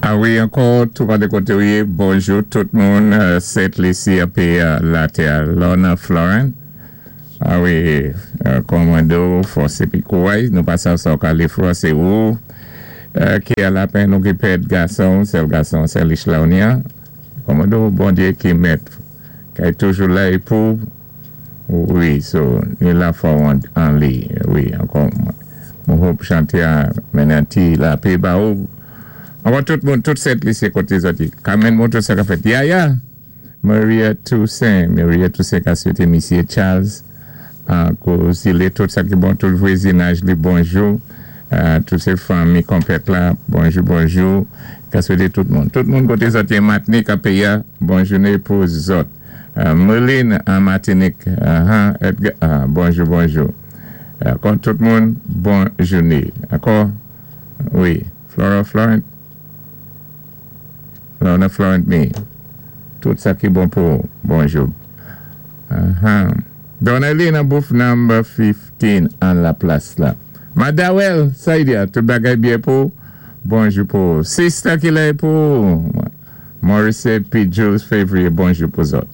A wi, ankò, tou pa dé koté ou yé, bonjou tout moun, Sent Lisi api latè, Lorna Florent. A wi, kòmando, fòs épi kouway, nou pa sav sa ou ka lé fwa, sé ou ki a lapenn ou ki pèd gason, sèl gason, sèl Ishlaunia. Kòmando, Bondyé ki mèt, kay toujou la é pou, wi, so, ni lafwa ou an li, wi, ankò, mwen hope chanté a mennen ti lapé ba ou. Ankò tout moun, tout Sent Lisi koté zòt yé. Carmen montré sa ka fèt. Yaya! Maria Toussaint, Maria Toussaint ka swété misyé Charles ak zilé tout sa ki bon, tout vwezinaj li bonjou, tout sé fanmi konpèt la, bonjou bonjou, ka swété tout moun. Tout moun koté zòt yé Matnik a péyi a, bon jouné pou zòt. Merline an Matinik, ahan, Edgar, bonjou bonjou. Ankò tout moun, bon jouné. Ankò, wi, Flora Florent. Lorna Florent me tout sa ki bon pou ou. Bonjou. Ahan. Donnelly nan booth number 15 an la plas la. Madawel, sa y di a, tout bagay byen pou ou? Bonjou pou ou. Sister ki lè pou ou? Maurice P. Jules Février, bonjou pou zòt.